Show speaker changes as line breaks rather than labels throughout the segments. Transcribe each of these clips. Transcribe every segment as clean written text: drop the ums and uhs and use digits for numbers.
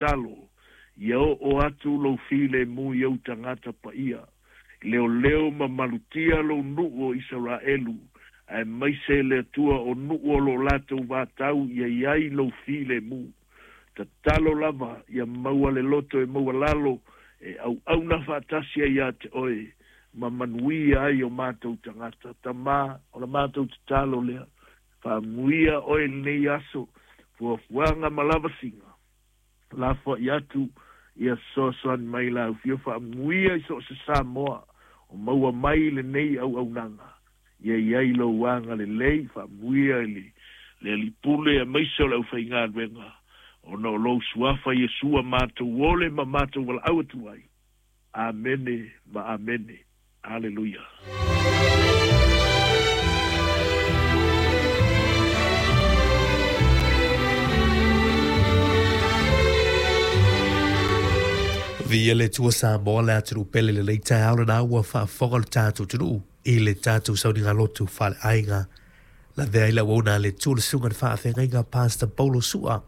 Tatalo, ia oo atu lou filemu i ou tagata paia, leoleo ma malutia lou nuu o Isaraelu, aemaise le Atua o nuu o lo o latou vatau ia i ai lou filemu. Tatalo lava ia maua le loto e maualalo e auauna faatasi ai ia te oe ma manuia ai o matou tagata. Tama, o la matou tatalo lea, faaamuia oe i lenei aso, fuafuaga ma lavasiga. Lafoai atu ia fesoasoani mai la Ufio faamuia i so o se Samoa o maua mai lenei auaunaga. Ia i ai lou agalelei, faamuia i le le Alii Pule aemaise o le aufaigaluega, ona o lou Suafa Iesu a matou ole ma matou valaau atu ai. Amene ma amene. Aleluia.
Viia le Atua Samoa le atunuu pele lenei taeao lena ua faafofoga lo tatou atunuu i le tatou sauniga lotu faaleaiga. Lavea ai le auauna a le Atua le susuga i le faafeagaiga Pastor Paulo Su'a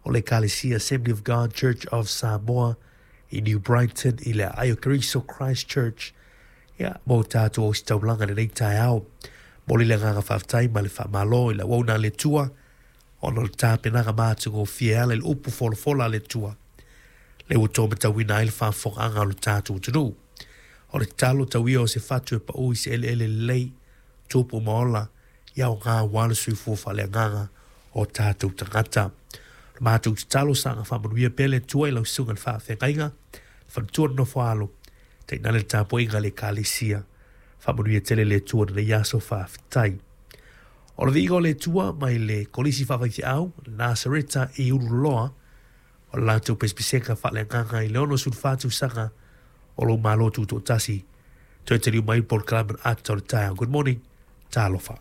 o le Ekalesia Assembly of God Church of Samoa i New Brighton i le aai o Keriso Christchurch ia mo tatou ositaulaga i lenei taeao. Momoli le agaga faafetai ma le faamalo i le auauna a le Atua ona o le tapenaga matagofie e ala i le upu folafola a le Atua lea ua tōmatauina ai le faafofogaaga o le tatou atunuu. O le tatalo tau ia o se fatu e pau i se eleele lelei, tupu ma ola, ia aoga aua le soifua faaleagaga o tatou tagata. O le matou tatalo saga faamanuia pea le Atua i lau susuga i le faafeagaiga, le faletua le nofo a alo, tainane le tapuaiga a le Ekalesia. Faamanuia tele le Atua i lenei aso faafetai. O le viiga o le Atua mai le Kolisi Faafaifeau, Nasareta i Ululoa, o le latou pesepesega faaleagaga i le 64 tausaga o lou Malo Tutoatasi. Toe taliu mai le polokalame o le Ata o le Taeao. Good morning. Talofa.